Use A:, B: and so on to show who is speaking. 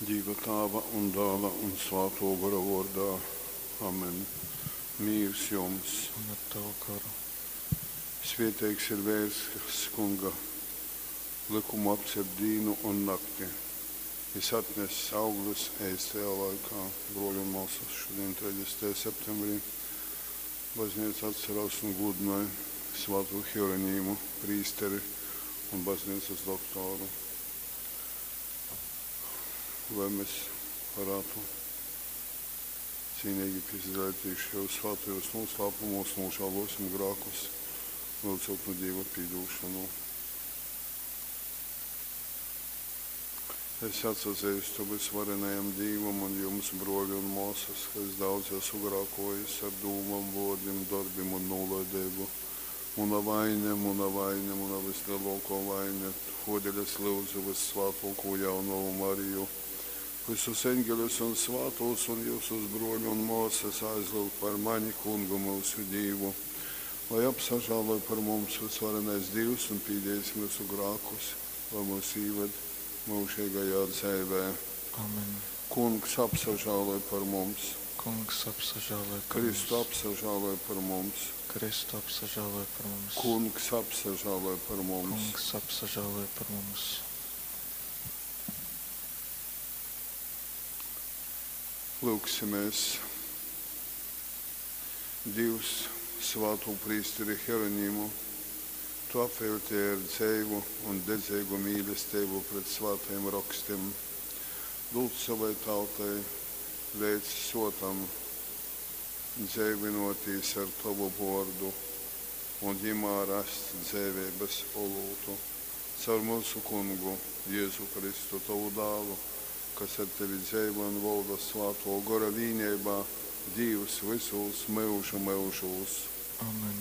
A: Dīva Tāva un Dāla un Svātō Gora vōrdā. Amen. Mīrs jums!
B: Un ar tavu goru.
A: Svieteigs ir veirs, kas Kunga lykumu apcer dīnu un nakti. Jis atness augļus eistajā laikā. Bruoļi un muosys, šudiņ, 30. septembrī, bazneica atcerās un gūdynoj Svātū Hieronīmu, prīsteri un bazneicys doktoru. Lai mes varētu cīnīgi pīsadaleitīs šajos svātajos noslēpumos, nožēlosim grēkus, lūdzot no Dieva pīdūšanu. Es atsazīstu vysvarenajam Dīvam un jums, bruoļi un muosys, ka es daudz esmu grākojis ar dūmom, vuordim, dorbim un nūlaideibu. Muna vaine, muna vaine, muna vysleluokuo vaine. Tuodeļ es lyudzu vyssvātuokū jaunovu Mariju, vysus eņgeļus un svātūs un jiusus, bruoļi un muosys, aizlyugt par mani Kungu myusu Dīvu. Lai apsažāloj par mums vysvarenais Dīvs un pīdīs myusu grākus, lai mūs īved myužeigajā dzeivē.
B: Amen.
A: Kungs apsažāloj par mums,
B: Kungs apsažāloj par
A: Kristu
B: mums.
A: apsažāloj par mums,
B: Kristu apsažāloj par mums.
A: Kungs apsažāloj par mums.
B: Kungs apsažāloj par mums.
A: Lūgsimies. Dievs, svātū prīsteri Hieronīmu, tu apveltīji ar dzeivu un dedzīgu mīlestību pret svātajiem rokstiem. Lūdz savai tautai līdz sotam dzeivinoties ar tavu vārdu un jimā rast dzeivības olūtu. Caur mūsu kungu Jēzu Kristu, tavu dālu, kas ar tevi dzeivo un valda svāto gora vīnībā, Dievs visos myužu myužūs.
B: Amen.